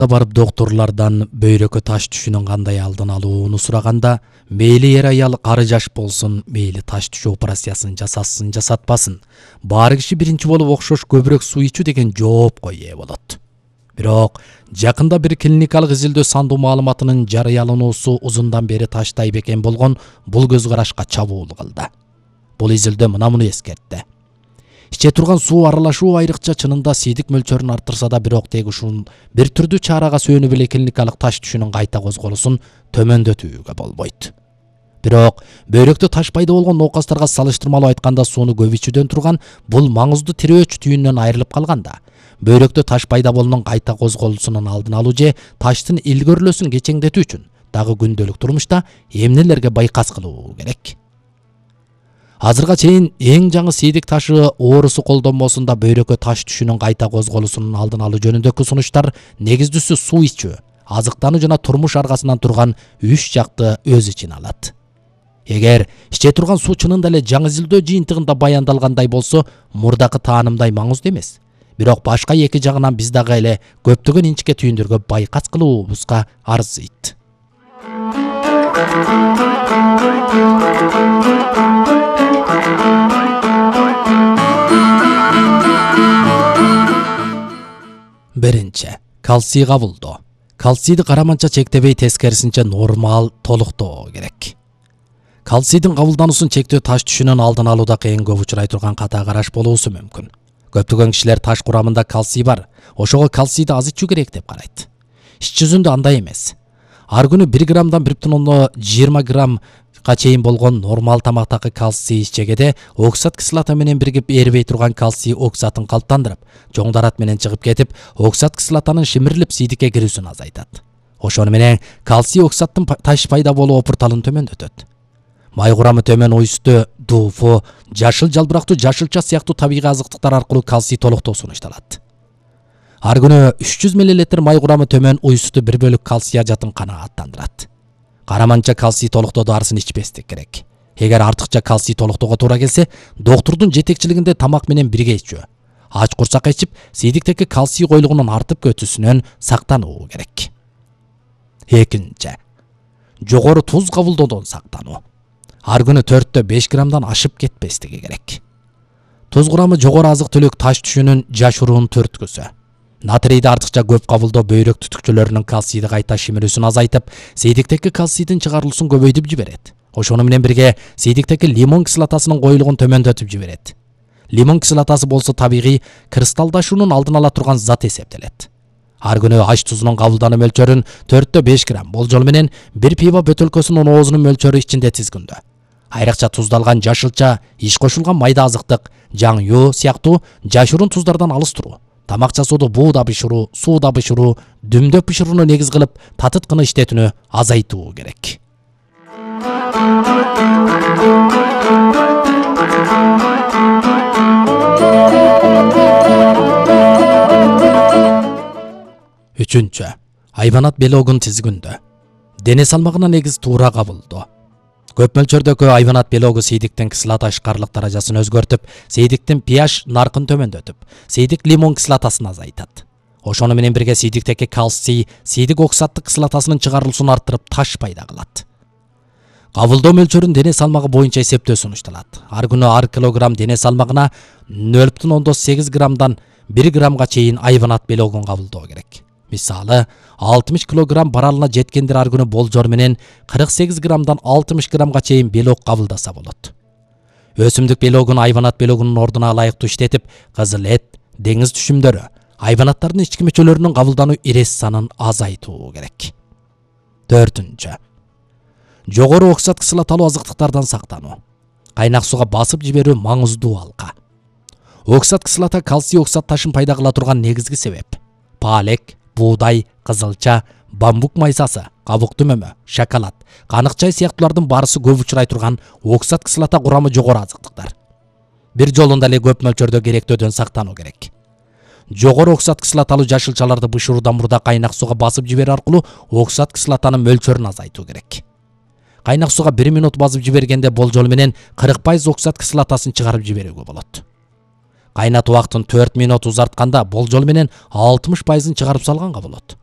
барып докторлордон бөйрөккө таш түшүүнүн кандай алдын алууну сураганда, мейли эр аял кары жаш болсун, мейли таш түшүү операциясын жасасын жасатпасын, баары киши биринчи болуп окшош көбүрөөк суу ичүү деген жоопко ээ болот. Бирок жакында бир клиникалык изилдөө сандуу маалыматынын жарыялануусу узундан бери таштай бекен болгон бул көз карашка чабуул кылды. Бул изилдөө муну эскертти. Иче турган суу аралашуу айрыкча чынында сийдик мөлчөрүн арттырса да, бирок тек ушул бир түрдүү чарага сөөнүп эле клиникалык таш түшүүнүн кайта козголусун төмөндөтүүгө болбойт. Бирок бөйрөктө таш пайда болгон ноокастарга салыштырмалуу айтканда сууну көп ичүүдөн турган бул маңыздуу тирөөч түйүнүнөн айрылып калганда, бөйрөктө таш пайда болуунун кайта козголусунун алдын алуу же таштын илгөрлөөсүн кечеңдетүү үчүн дагы күндөлүк турмушта эмнелерге байкас кылуу керек? Азырга чейин эң жаңы сийдик ташы оорусу колдонмосун да бөйрөккө таш түшүүнүн кайта козголусунун алдын алуу жөнүндөгү сунуштар негиздүүсү суу ичүү, азыктануу жана турмуш аргасынан турган 3 жакты өз ичине алат. Эгер иче турган суу чынында эле жаңы изилдөө жыйынтыгында баяндалгандай болсо, мурдакы таанымдай маңыздуу эмес. Бирок башка эки жагынан биз дагы эле көптөгөн инчикке түйүндөргө байкас кылуубузга арзыйт. Биринчи, кальций кабылдоо. Кальцийди караманча чектебей, тескерисинче нормал толуктоо керек. Кальцийдин кабылдануусун чектөө таш түшүүнүн алдын алууда кыйын көп учурай турган ката караш болуусу мүмкүн. Көптөгөн кишилер таш курамында кальций бар, ошого кальцийди аз ичүү керек деп карайт. Иш жүзүндө андай эмес. Ар күнү 1 граммдан 1,20 граммга чейин болгон нормал тамактагы кальций ичегеде оксат кислота менен биригип эрибей турган кальций оксатын калыптандырып, жоңдарат менен чыгып кетип, оксат кислотанын шимирилип сийдикке кирүүсүн азайтат. Ошону менен кальций оксаттын таш пайда болуу опурталын төмөндөтөт. Май курамы төмөн уйсту, дуфу, жашыл жалбырактуу жашылча сыяктуу табигый азыктыктар аркылуу кальций толуктоо сунушталат. Ар күнү 300 мл май курамы төмөн уйсту 1 бөлүк кальций ажатын канааттандырат. Караманча кальций толуктоодо арсын ичпестик керек. Эгер артыкча кальций толуктоого туура келсе, доктурдун жетекчилигинде тамак менен бирге ичүү, ач курсакка ичип, сийдиктеги кальций койлугунун артып кетүүсүнөн сактануу керек. Экинчи, жогору туз кабылдоодон сактануу. Ар күнү 4-5 граммдан ашып кетпестиги керек. Туз курамы жогору азык-түлүк таш түшүүнүн жашыруун түрткүсү. Натрийди артыкча көп кабылдоо бөйрөк түтүкчөлөрүнүн кальцийди кайта шимирүүсүн азайтып, сийдиктеги кальцийдин чыгарылуусун көбөйтүп жиберет. Ошону менен бирге сийдиктеги лимон кислотасынын коюлугун төмөндөтүп жиберет. Лимон кислотасы болсо табигый кристалдашуунун алдын ала турган зат эсептелет. Ар күнү аш тузунун кабылдануу мөлчөрүн 4-5 грамм болжол менен бир пиво бөтөлкөсүнүн оозунун мөлчөрү ичинде тизгүндө. Айрыкча туздалган жашылча, иш кошулган майда азыктык, жаң ю сыяктуу жашыруун туздардан алыс туруу, тамак жасоодо бууда бышыруу, сууда бышыруу, дүмдөп бышырууну негиз кылып, татыткыны иштетүүнү азайтуу керек. Үчүнчү, айванат белогун тизгүндө. Дене салмагына негиз туура кабылдоо. Көп мөлчөрдөгү айванат белогу сийдиктин кислота ишкарлык даражасын өзгөртүп, сийдиктин pH наркын төмөндөтүп, сийдик лимон кислотасын азайтат. Ошону менен бирге сийдиктеги кальций, сийдик оксаттык кислотасынын чыгарылуусун арттырып, таш пайда кылат. Кабылдоо мөлчөрүн дене салмагы боюнча эсептөө сунушталат. Ар күнү ар килограмм дене салмагына 0,8 граммдан 1 граммга чейин айванат белогун кабылдоо керек. Мисалы, 60 килограмм баралына жеткендер ар күнү болжор менен 48 граммдан 60 граммга чейин белок кабылдаса болот. Өсүмдүк белогун айванат белогунун ордуна ылайыктуу иштетип, кызыл эт, деңиз түшүмдөрү, айванаттардын ички мүчөлөрүнүн кабылдануу ирес санын азайтуу керек. Төртүнчү, жогору оксат кислоталуу азыктыктардан сактануу. Кайнак сууга басып жиберүү маңыздуу алка. Оксат кислота кальций оксат ташын пайда кыла турган негизги себеп. Паалек, буудай, кызылча, бамбук майсасы, кабык түмөмө, шоколад, канык чай сыяктуулардын баарысы көп учурай турган оксат кислота курамы жогору азыктыктар. Бир жолунда эле көп мөлчөрдө керектөөдөн сактануу керек. Жогору оксат кислоталуу жашылчаларды бышыруудан мурда кайнак сууга басып жиберүү аркылуу оксат кислотанын мөлчөрүн азайтуу керек. Кайнак сууга 1 минут басып жибергенде болжол менен 40% оксат кислотасын чыгарып жиберүүгө болот. Кайнатуу убактын 4 минут узартканда болжол менен 60%-ын чыгарып салганга болот.